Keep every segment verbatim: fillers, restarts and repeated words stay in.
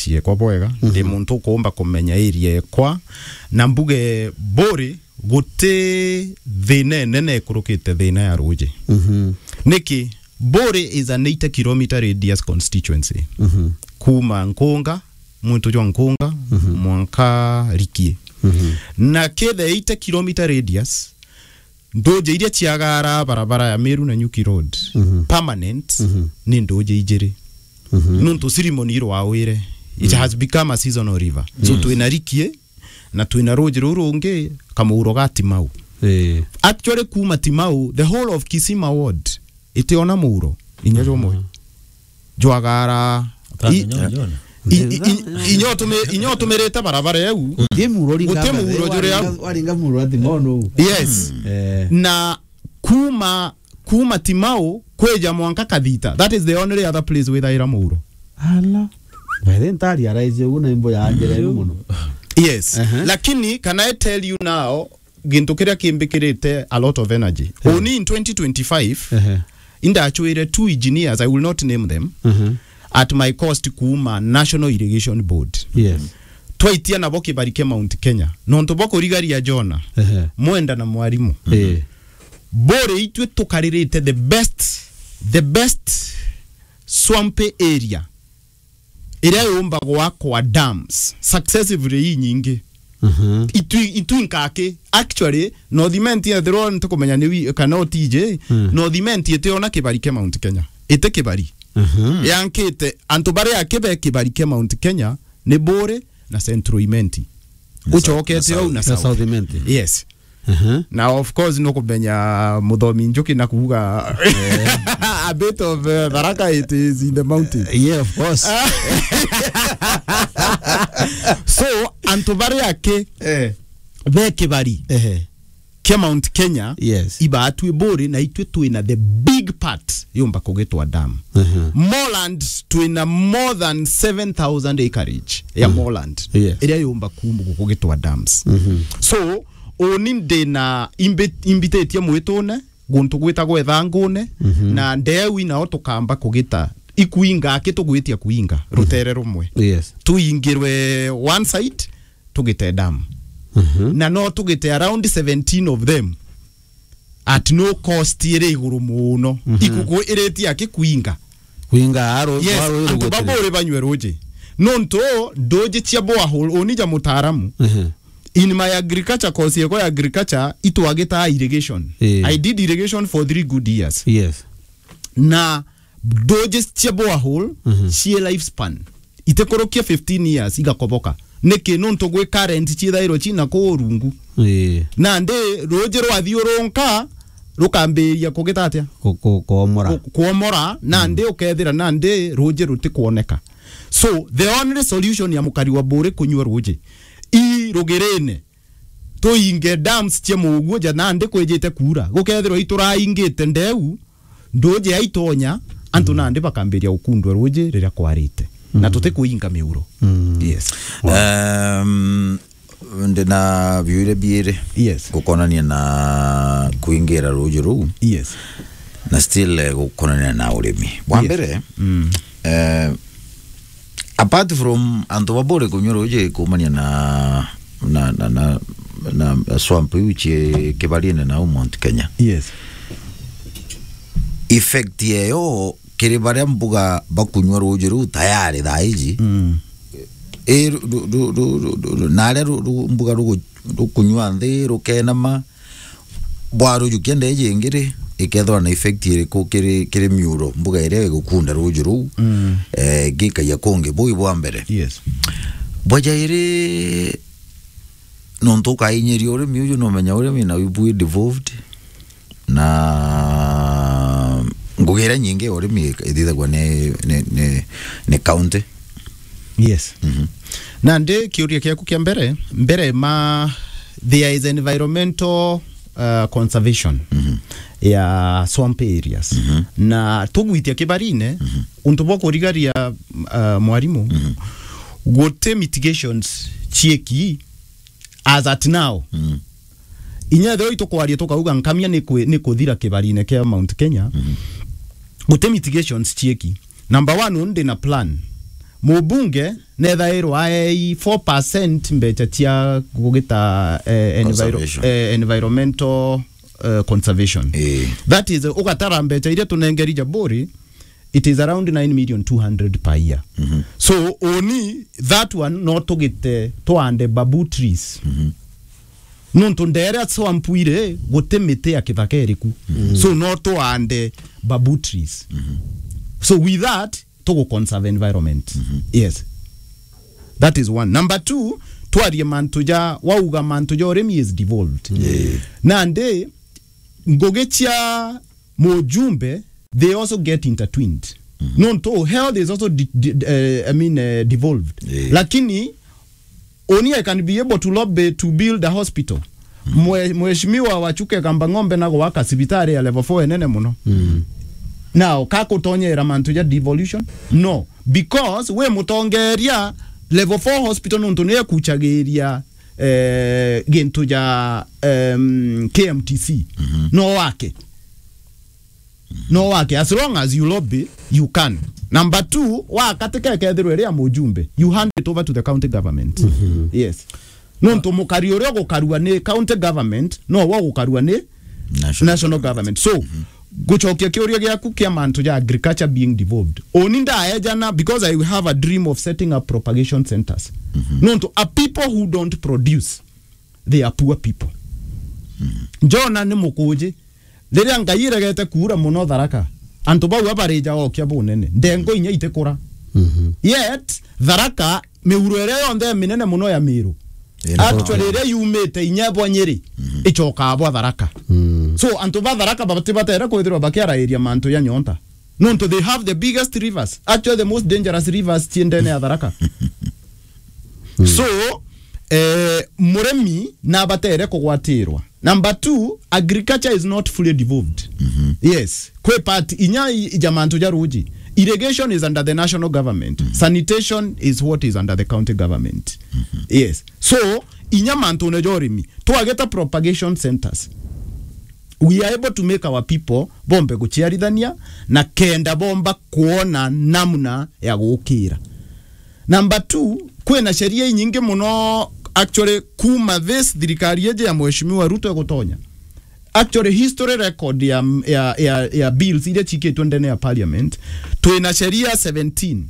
area ekwa bwega, ndi Mhm. muntu ukuumba kumenya area ekwa, na mbuge Buuri guti thina inene ikurukite thina ya ruuji. Mhm. Niki? Buuri is an eighty kilometre radius constituency. Mhm. Kuuma Nkunga, mwinto jwa Nkunga, Mhm. mwanka Rikie. Mhm. Na kithe eighty kilometre radius, nduuji iria ciagaara barabara ya Meru na Nyuki Road, Mhm. permanent, Mhm. ni nduuji ijiri. Mhm. Nuntu ceremony irwawire, it Mm. has become a seasonal river. So Yes. twina Rikie, na twina ruuji ruu rungi, Kamuuro ga Timau. Eh. Actually, kuuma Timau, the whole of Kisima ward, itiona muuro, inya jumwe. Mhm. Jwagaara, Utamenya i-, ujiona. i-, i-, i-, inya utumi-, inya utumirite barabara eu. Guti muuro uringa Guti barabara muuro uu, juri au. Waringa, waringa muuro ati mono. Yes. Eh. Na kuuma, kuuma Timau, kwija mwanka Kathita. That is the only other place withaira muuro. Ala. By the way, ntari araize uguo na imbo ya njira inu muno. Yes. Ehe. Lakini, can I tell you now, gintu kiria kimbikirite a lot of energy. Eh. Uni in twenty twenty-five, Ehe. indachwire two engineers, I will not name them, Mhm. at my cost kuuma National Irrigation Board. Yes. Twaitia nabo kibari kia Mount Kenya. Nontu bwa kurigaria Jona, Ehe. Mwenda na Mwarimu. Eh. Buuri itwe tukaririte the best, the best swampy area iria yumba gwakwa dams successively inyingi. Mhm. Itwi-, itwi nkaki. Actually, North Imenti ethirwa ntikumenya ni wi-, kana utije, Mm. North Imenti itiona kibari kia Mount Kenya. Iti kibari. Mhm. Yankite, antu baria aki be kibari kia Mount Kenya ni Buuri na Central Imenti. Na Ucokete South, au na na South. South Imenti. Yes. Aha. Na of course, nukumenya Muthomi Njuki na kuuga a bit of, uh, Tharaka, it is in the mountain. Yeah, of course. So, antu baria aki Eh. be kibari Ehe. kia Mount Kenya, Yes. ibaatwi Buuri, na itwi twina the big part yumba kugitwa dam. Aha. Moorland, twina more than seven thousand acreage ya Mm. moorland Yes. iria yumba kum-, kugitwa dams. Mhm. So, uni ndina imbi-, imbititie mwitune, guntu gwitagwa Ithangune, Mhm. na ndeu inao tukamba kugita ikuinga, aki tugwitia kuinga, Mhm. rutere rumwe. Yes. Tuingirwe one side, tugite dam. Mhm. Na no tugite around seventeen of them at no cost iri iguru muno. Mhm. Ikuku iritie aki kuinga. Kuinga aro, Yes, aro iri antu ba gutiri. Buuri banywe ruuji. Nontu nduuji cia borehole, uni ja mutaaramu. Mhm. In my agriculture course yekwa ya agriculture, itwagitaa irrigation. Eh. I did irrigation for three good years. Yes. Na nduuji cia borehole, Mhm. cie lifespan itikurukia fifteen years igakoboka. Niki? Nontu gwi current ciithairwa cina kuu rungu. Ii. Nandi ruuji rwathiurunka, rukambiria kugita atia? Ku-, ku-, kuomora. Ku-, kuomora, nandi Mm. ukethira nandi ruuji rutikwoneka. So, the only solution ya mukari wa Buuri kunyua ruuji i rugirine, tuinge dams cia muuguo ja nandi kwijite kuura. Gukethirwa ituraingite ndeu, nduuji ya itonya, antu Mm. nandi bakambiria gukundwa ruuji riria kwarite. Na Mm. tutikuinga miuro. Mm. Yes. Wow. Um, ndina biuria biiri Yes. gukonania na kuingira ruuji ruu. Yes. Na still, eh, gukonania na urimi. Bwa Yes. mbere, Mm. eh, apart from antu ba Buuri kunywa ruuji kuumania na, na, na, na, na swamp iu cii kibarine na Mount Kenya. Yes. Effect yeyo kiri baria mbuga bakunywa ruuji ruu tayari thaa iji. Mm. I ru-, ru-, ru-, ru-, ru-, ru-, na aria ru-, ru-, mbuga rugu-, rukunywa nthi, rukenama, bwarujukia ndeji ingi ri, ikethirwa na effect iriku kiri, kiri miuro, mbuga iria igukunda ruuji ruu, Mm. eh, gikaia kungi? Buu i bwa mbere. Yes. Bwa jairi, nontu ukainyiria urimi uju, numenya urimi na ibu i devolved, na ngugi iria nyingi ya urimi ithithagua ni, ni, ni, ni county. Yes. Mhm. Nandi kiuria kiaku kia mbere, mbere ma, there is environmental, uh, conservation Mhm. ya swamp areas. Mhm. Na tugwitia kibarine, Mhm. untu bwa kurigaria, uh, mwarimu, Mhm. guti mitigations cieki as at now. Mhm. Inya ethirwa itukwaria tukauga nkamia ni kwi-, ni kuthira kibarine kia Mount Kenya, Mhm. guti mitigations cieki. Number one, uni ndina plan. Mubunge nethairwa aei four percent mbecha cia gugita, eh, enviro-, Conservation. Eh, environmental, eh, conservation. Eh. That is, ugatara mbecha iria tunengeri Jaburi, it is around nine million two hundred per year. Mhm. So, only that one no tugite twande babu trees. Mhm. Nontu ndere swamp iri, guti miti ya kithaka iriku. Mhm. So, no twande babu trees. Mhm. So, with that, tugu conserve environment. Mhm. Yes. That is one. Number two, twarie mantu ja, wauga mantu ja urimi is devolved. Yeah. Nandi, ngugi cia mujumbe, they also get intertwined. Mhm. Nontu health is also de-, de-, eh, I mean, eh, devolved. Yeah. Lakini, only I can be able to lobby to build a hospital. Mm. Mwe-, Mheshimiwa Wachuke Kamba Ng'ombe na gwaka cibitari ya level four enene muno. Mm. Now, ka kutonyera mantu ja devolution? No. Because we mutongeria, level four hospital nontu ni ekuchagiria, eh, gintu ja, em, K M T C. Mhm. No wake. No wake, as long as you lobby, you can. Number two, wakatika ikethirwa iri ya mujumbe, you hand it over to the county government. Mhm. Yes. Nontu mukari uria ugukarua ni county government, no wo ugukarua ni national, national government. So, mhm, gucokia kiuria giaku kia mantu ja agriculture being devolved. Oni ndaejana, because I have a dream of setting up propagation centers. Mhm. Nontu a people who don't produce, they are poor people. Mhm. Jona ni mukuji, riria Ngai iregete kuura muno Tharaka, antu bau abarija okia bunene, ndengo inya itikura. Mhm. Yet, Tharaka, miuro iria yonthe minene muno ya Miru, ina actually, iria yumite inya bwa Nyeri, mhm, icokaa bwa Tharaka. Mm. So, antu ba Tharaka batibatere kwithirwa bakiarairia mantu ya nyonta. Nontu they have the biggest rivers. Actually, the most dangerous rivers ci ndene ya Tharaka. Mm. So, eh, murimi nabatere kugwatirwa. Number two, agriculture is not fully devolved. Mhm. Yes. Kwi part inya i-, ija mantu ja ruji. Irrigation is under the national government. Mhm. Sanitation is what is under the county government. Mhm. Yes. So, inya mantune ja urimi, twageta propagation centers, we are able to make our people bombe guciarithania na kenda bomba kuona namna ya gukira. Number two, kwina sheria inyingi muno, actually, kuma this thirikari iji ya Mheshimiwa Ruto igutonya. Actually, history record ya, ya, ya, ya bills iria cikitwe ndene ya parliament, twina sheria seventeen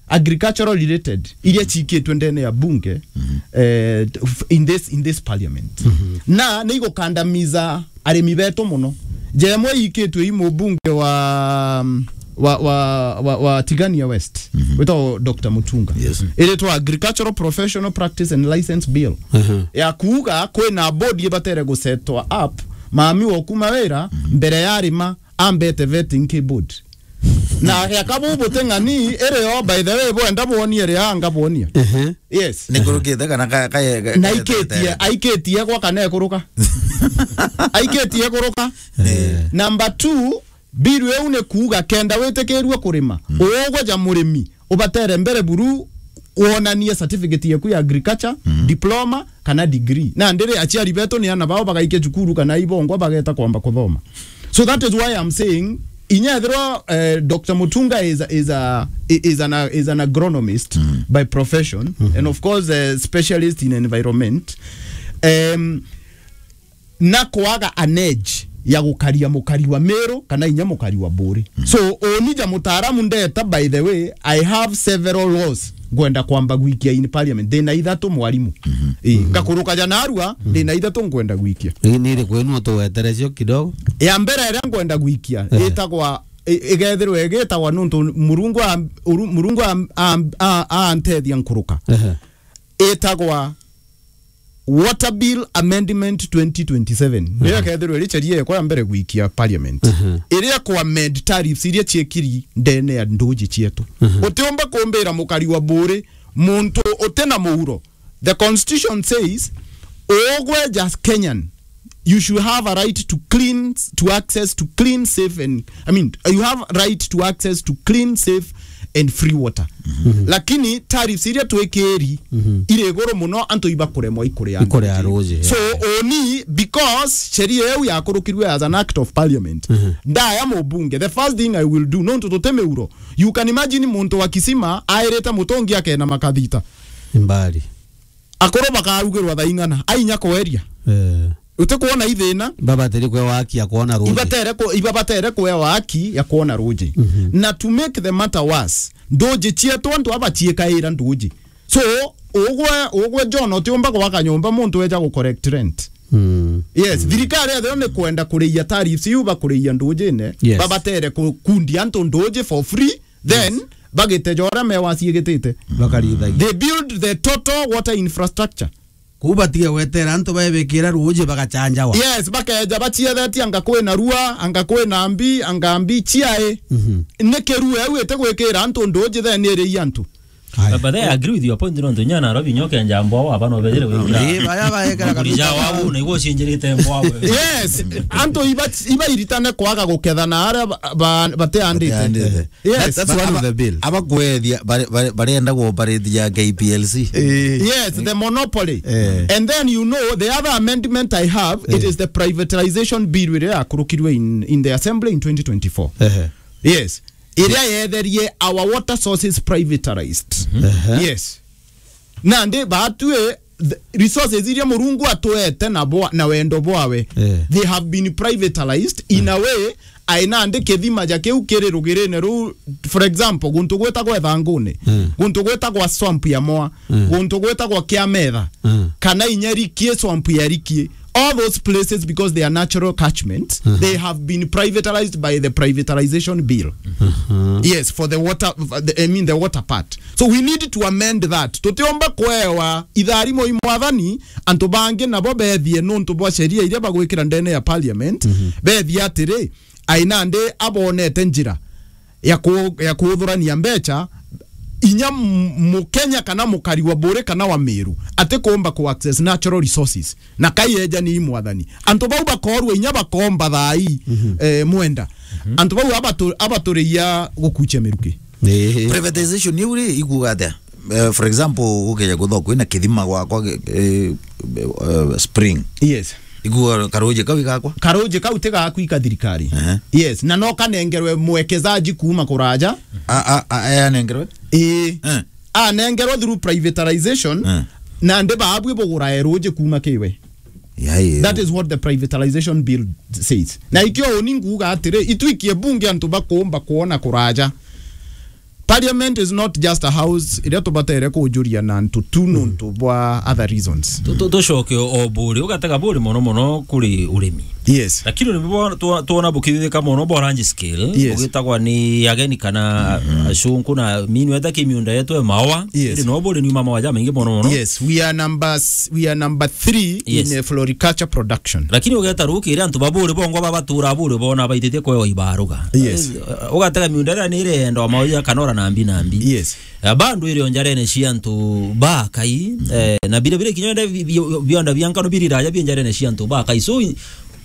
agricultural related iria cikitwe ndene ya bunge, mhm, eh, f-, in this, in this parliament. Mhm. Na ni igukandamiza arimi betu muno. Jemwe ikitwe i mubunge wa, wa, wa, wa, wa Tigania West, mhm, witagwo Doctor Mutunga. Yes. Iritwa Agricultural Professional Practice and License Bill. Mhm. Ya kuuga kwina body ibatere gusetwa up, mami wa kuma wira, mhm, mbere ya arima, ambete vetting ki board. Na ya kabu buteng'ani, iri yo, by the way, bwenda bwonie ria anga bwonia. Ehe. Yes. Ni kurukite kana ka, ka, ka, na ka, ikitie, aikitie gwa kana ekuruka. Aikitie kuruka. Eh. Number two, bill iu ni kuuga kenda witikirue kurima, mm, ugwe ja murimi, ubatere mbere buru wonanie certificate yaku ya agriculture, mm, diploma, kana degree. Na ndiri aciari betu ni ana bao bagaikia cukuru kana ibongwa bageta kwamba kuthoma. So that is why I'm saying, inya ethirwa, eh, Doctor Mutunga is a, is a, is an, is an agronomist, mm, by profession, mm-hmm, and of course, a specialist in environment. Um, na kwaga an edge ya gukaria mukari wa Meru kana inya mukari wa Buri. Mm. So, oni ja mutaaramu ndeta, by the way, I have several laws ngwenda kwamba gwikia in parliament. Ndina ithatu, mwarimu. Mhm. Ii, mhm, ngakuruka ja narua, mhm, ndina ithatu ngwenda gwikia. Ii, ni iriku ino tuweterecio kidogo? Ya mbere iria ngwenda gwikia, ehe, itagwa, i-, igethirwa igitagwa nuntu Murungu a-, uru-, Murungu a-, a-, a-, antethia nkuruka. Ehe. Itagwa Water Bill Amendment twenty twenty-seven. Mhm. Niyo kethirwa iri sheria yakwa ya mbere gwikia parliament. Mhm. Iria ku amend tariffs iria ciekiri ndene ya nduji cietu. Mhm. Utiumba kumbira mukari wa Buri, muntu utina muuro. The constitution says, ugwe just Kenyan, you should have a right to clean, to access to clean, safe and, I mean, you have right to access to clean, safe and free water. Mhm. Lakini tariffs iria twikiri Mhm. iri iguru muno, antu ibakuremwa ikuria Ikuria ruji. Ruji, so, yeah. Oni, because sheria iu yakurukirwe as an act of parliament, Mhm. ndaya mubunge, the first thing I will do, nontu tuti miuro. You can imagine muntu wa Kisima airite mutungi akena makathita. Mbari. Akuru bakarugirwa thaa ing'ana, ainya kweria. Eh. Utikuona ithina? Babatere kwe waki ya kuona ruji. Ibatere ku-, ibabatere kwe waki ya kuona ruji. Mhm. Na to make the matter worse, nduji cietu antu aba ciikaira nduji. So, ugwe, ugwe John, utiumba gwaka nyumba muntu eja gu collect rent. Mm. Yes, Mm. thirikari ethio ni kwenda kuriia tariffs iu bakuriia ndujine, Yes. babatere ku-, kundia antu nduji for free, then Yes. bagite jora mewa ciigitite. Bakarithagia. They build the total water infrastructure. Kuu batige gwetera antu baebikira ruuji bagacanjawa. Yes, bakeja baciethetie anga kwina rua, anga kwina mbi, anga mbi ciae. Mhm. Ni kirua iu iti gwikira antu nduuji then iri antu. Aya. But, but I agree with your point, nontu inya Nairobi nyoke njambwa wa bano bejere gwikira. Ii, baria baekera Nguri kabisa. Ja wabu, na igwo cinjirite mbwa we. Yes, antu iba, iba iritane kwaga gukethana aria ba, ba, bateandite. Bateandite. Yes. That, that's one of the bill. Aba kwethia, bare-, bare-, barenda ku operate ya K P L C. Eh. Yes, the monopoly. Eh. And then, you know, the other amendment I have, it Eh. is the privatization bill iria yakurukirwe in, in the assembly in twenty twenty-four. Eh. Yes. Iria yetherie our water sources privatized. Mhm. Eh. Yes. Nandi batue the resources iria Murungu atwete na bwa-, na wendo bwawe, Eh. they have been privatized in a way, ai nandi kithima ja kiu kiri rugirine ruu, for example, guntu gwitagwa Ithanguni, Mm. guntu gwitagwa swamp ya Moa, Mm. guntu gwitagwa Kiametha, Mm. kana inya Rikie, swamp ya Rikie. All those places, because they are natural catchments, Mhm. they have been privatized by the privatization bill. Mhm. Yes, for the water, the, I mean the water part. So we need to amend that. Tutiomba kwewa itharimo i mwathani, antu bangi nabo bethie nontu bwa sheria iria bagwikira ndene ya parliament, Mhm. bethie atiri, ai nandi abonete njira ya ku-, ya kuthurania mbecha, inya m-, Mukenya kana mukari wa Buri kana wa Meru, ati kuumba ku access natural resources. Na kai eja ni mwathani. Antu bau bakorwa inya bakomba thaa ii, Mhm. eh, mwenda. Mhm. Antu bau abatu-, abaturiia gukuchia miruki. Ii. Privatization iu ri, ikuuga atia? Eh, for example, ukeja kuthwa kwina kithima gwakwa, eh, eh, spring. Yes. Ikuuga karuji kau igakwa? Karuji kau ti gaku ika thirikari. Ehe. Yes, na no kanengerwe mwekezaji kuuma kuraja. A, a, a, aya anengerwe? Ii. Eh. Anengerwe through privatization, Eh. na ndi baabwi bugurae ruji kuuma kiwe. Yai. That is what the privatization bill says. Na ikio uni nguuga atiri, itwikie bunge antu bakuumba kuona kuraja. Parliament is not just a house iria tubatere kujuria na antu tu nontu bwa other reasons. Tu-, tu-, tucoke o, o Buri, ugatega Buri mono mono kuri urimi. Yes. Lakini urimi bwa, twa-, twona bukithithika mono bwa large scale, Yes. bugitagwa ni ageni kana Mhm. acunku na mini weta ki miunda yetu e maoa. Yes. Iri no Buri ni maoa ja maingi mono mono. Yes, we are number s-, we are number three Yes. in, uh, floriculture production. Lakini ugeta ruki iri antu ba Buri bongwa babatura Buri bona baititie kwewa ibaruga. Yes. Eh, ugatega miunda iria ni irenda maoa kana ora na mbi na mbi. Yes. Eh, bandu iri o njarene cia antu bakai, eh, na bire bire kinya bi-, bi-, bionda bia nkano biri raja bi njarene cia antu bakai. So,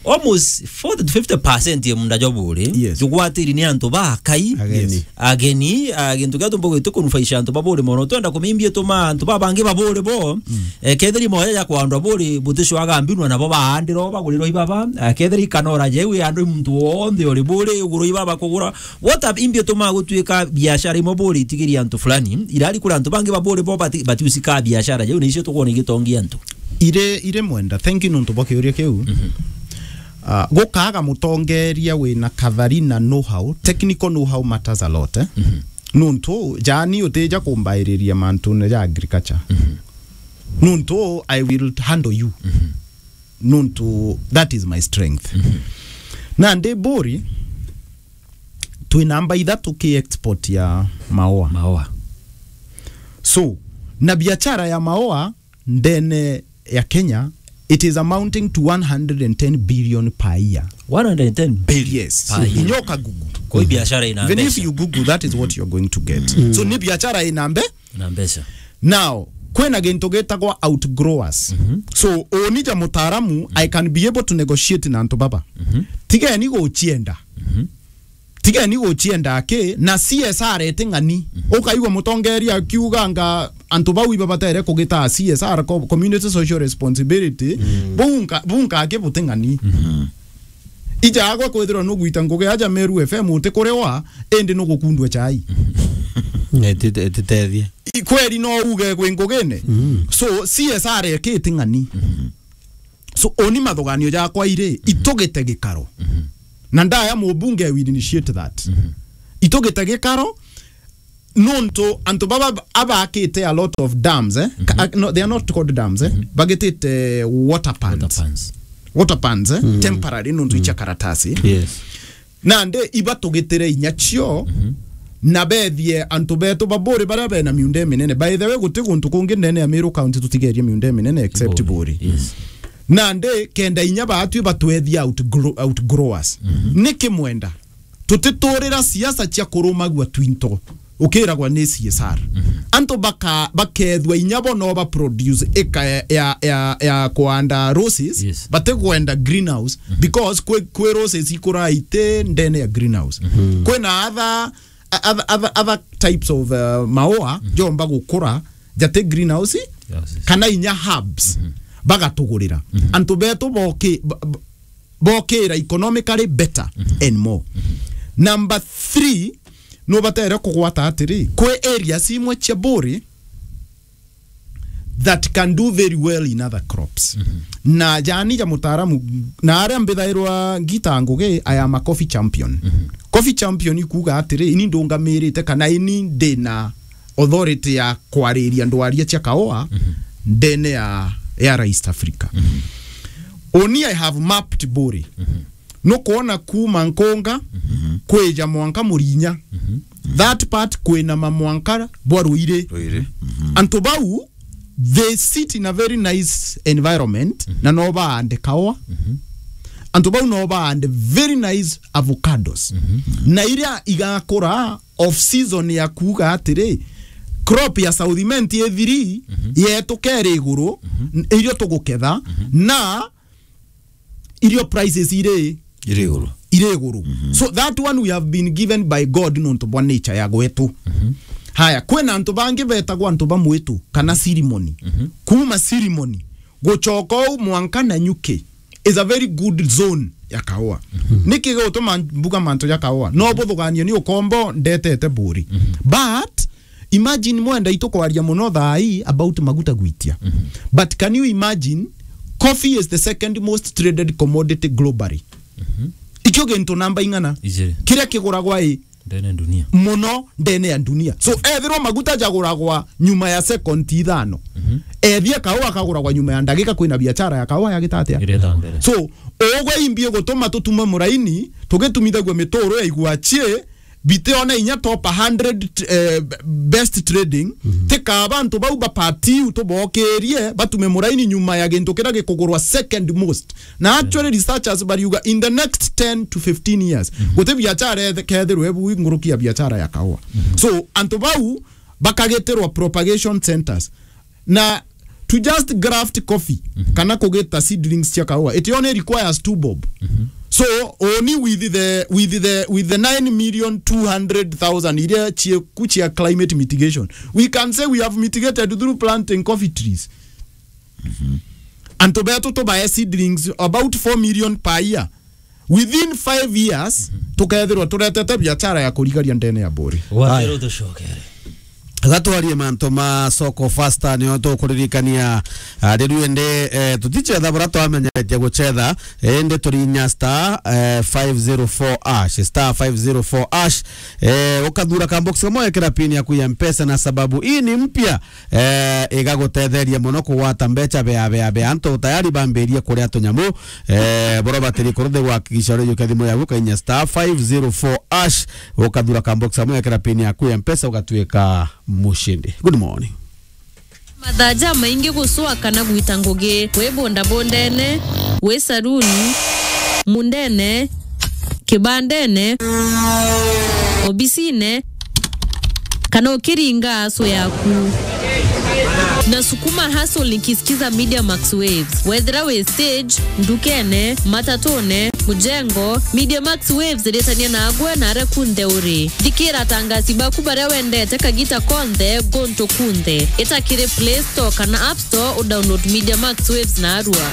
almost forty to fifty percent ya munda jwa Buri, Yes. jugwatiri ni antu bakai. Ageni. Yes. Ageni, ah, gintu kia tumbo gwitu kunufaisha antu ba Buri mono. Twenda kumimbia tuma antu babangi ba Buri bo, Mm. eh, kethiri moya ya kwandwa Buri, buticwaga mbinwa nabo baandiro, bagurirwa ibaba, eh, kethiri ikanora jeu ya andu muntu wonthe uri Buri, ugurwa ibaba kugura. What have imbia tuma gutuika biashara imwe Buri itigiri antu fulani, irari kuri antu bangi ba Buri bo bati-, batiusika biashara jeu, na icio tukwona igitongia antu. Ire, ire mwenda, thank you nontu bwa kiuria kiu. Mhm. Ah, gukaga mutongeria wina kathari na know-how, technical know-how matters a lot, eh? Mhm. Nontu, jani utija kumbairiria mantune ja agriculture. Mhm. Nontu, I will handle you. Mhm. Nontu, that is my strength. Mhm. Nandi Buri, twi namba ithatu ki export ya maoa. Maoa. So, na biashara ya maoa, ndene ya Kenya, it is amounting to one hundred and ten billion per year. One hundred and ten billion Yes. per year. Inyoka Google. Kwa hiyo biashara ina Even if mbeca. you Google, that is what you're going to get. Mm. So, ni biashara ina mbe-, Na mbeca. Now, kwina gintu gitagwa outgrowers. Mhm. So, uni ja mutaaramu, I can be able to negotiate na antu baba. Mhm. Tigeni guchienda. Mhm. Tigeni gucienda ki, na C S R iti ng'ani. Mhm. Ukaigua mutongeria akiuganga antu bau ibabatere kugita C S R, co-, community social responsibility. Mm. Bau nka-, bau nkaki buti ng'ani. Mhm. Ija agwe kwithirwa nugwita ngugi aja Meru F M uti kuriwa, indi nugukundua chai. Etite-, etitethie. I kweli no uge kwi ngugine? Mm. So, C S R eki iti ng'ani. Mhm. So, oni mathuganio jakwa iri, mhm, itugite gikaro. Mhm. Na ndaya mubunge will initiate that. Mhm. Itugite gikaro, nontu antu baba abakite a lot of dams, eh? Ka-, mhm, no, they are not called dams, eh? Mhm. Bagitite water pans. Water pans. Water pans, eh? Mm. Temporary, nontu, mm, icha karatasi. Yes. Nandi ibatugitire inya cio, mhm, na bethie antu betu ba Buuri baria bena miunda iminene. By the way, guti guntu kungi ndene ya Meru County tutigerie miunda iminene except Buuri. Buuri. Yes. Nandi kenda inya baatwi batwethia outgro-, outgrowers. Mhm. Niki mwenda? Tutiturira siasa cia kurumagua twinto. Ukiragwa ni C S R. Mhm. Antu baka-, bakethwa inya bo no ba produce ika ya, ya, ya, ya kuanda roses, yes, batigwenda greenhouse, mhm, because kwi, kwi roses ikura iti ndene ya greenhouse. Mhm. Kwina other, other, other, other types of, uh, maua, mhm, jomba gukura jati greenhouse, yes, yes, kana inya herbs, mhm, bagatugurira. Mhm. Antu betu boki-, ba-, ba-, bokira economically better, mhm, and more. Mhm. Number three, nubatere kugwata atiri, kwi areas imwe cia Buuri that can do very well in other crops. Mhm. Na jani ja mutaaramu, na aria mbithairwa ngita ngugi, I am a coffee champion. Mhm. Coffee champion ikuuga atiri, ini ndungamirite kana ini ndina authority ya kwariria ndwaria cia kaua, mhm, ndene ya, ya East Africa. Mhm. Oni I have mapped Buuri. Mhm. Nukwona kuuma Nkunga, mhm, kwija mwanka Murinya. Mhm. That part kwina mamwanka bwa Ruiri. Ruiri. Mhm. Antu bau, they sit in a very nice environment, mhm, na no baande kaua. Mhm. Antu bau no baande very nice avocados. Mhm. Na iria igakura off season ya kuuga atiri, crop ya South Imenti ithiri, mhm, yetu keri iguru, mhm, n-, irio tuguketha, mhm, na irio prices iri iri iguru. Iri iguru. Mhm. So that one we have been given by God nontu bwa nature ya gwetu. Mhm. Haya, kwina antu bangi betagwa antu ba mwitu kana Sirimoni. Mhm. Kuuma Sirimoni, gucoka uu mwanka Nanyuki is a very good zone ya kaua. Mhm. Niki gutuma mbuga mantu ja kaua? No buthuganio ni ukombo ndetete Buuri. Mhm. But imagine mwenda itukwaria muno thaa ii about maguta gwitia. Mhm. But can you imagine, coffee is the second most traded commodity globally. Mhm. Ikio gintu namba ing'ana? Ijiri. Kiria kiguragwa i ndene dunia. Muno ndene ya dunia. So, ethirwa maguta jaguragwa nyuma ya second ithano. Mhm. Ethia kaua kaguragwa nyuma ya ndagika, kwina biashara ya kaua yagita atia? Ireta mbere. So, ugwe imbi gutuma tutume muraini, tugitumithagua mituro ya igua chie, bitiona inya top hundred, eh, best trading, mhm, tikaba antu bau bapati u tubokirie, batume muraini nyuma ya gintu kiria gikugurwa second most. Na actually, researchers bariuga in the next ten to fifteen years, mhm, guti biachara ethe-, kethirwe bu nguruki ya biachara ya kaua. Mhm. So, antu bau bakagitirwa propagation centers. Na to just graft coffee, mhm, kana kugita seedlings cia kaua, it only requires two bob. Mhm. So, only with the, with the, with the nine million two hundred thousand iria cieku cia climate mitigation, we can say we have mitigated through planting coffee trees. Mhm. Antu betu tubae seedlings about four million per year. Within five years, mhm, tukethirwa turetete biachara ya kurigaria ndene ya Buuri. Wathira. Aya. Utucokere. Gatwarie mantu ma soko faster, nio tukuririkania, ah, riu indi, eh, tuticetha bura twamenyeretie gucetha, eh, indi turinya star, eh, five zero four hash, star five zero four hash, eh, ukathura ka box kamwe, ekira pin yaku ya Mpesa, na sababu hii ni mpya, eh, igagutetheria muno kugwata mbecha bea, bea, bea. Antu tayari bambirie kuria tunyamu, eh, boro batiri kuruthi gwakikisha uri yuke thimu yaku, kainya star five zero four hash, ukathura ka box kamwe, ekira pin yaku ya Mpesa, ugatuika mushindi. Good morning. Mathaa jamaingi gucwa kana gwita ngugi, wi bundabundene, wi saruni, mundene, kibandene, obisine, kana ukiringa acu yaku. Nasukuma hustle nikisikiza Media Max Waves. Wethira wi stage, ndukene, matatune, mujengo, Media Max Waves iritania nagwe na aria kunthe uri. Thikira atangasi baku baria wendete kagita konthe, guntu kunthe. Ita kiri Play Store kana App Store udownload Media Max Waves narua.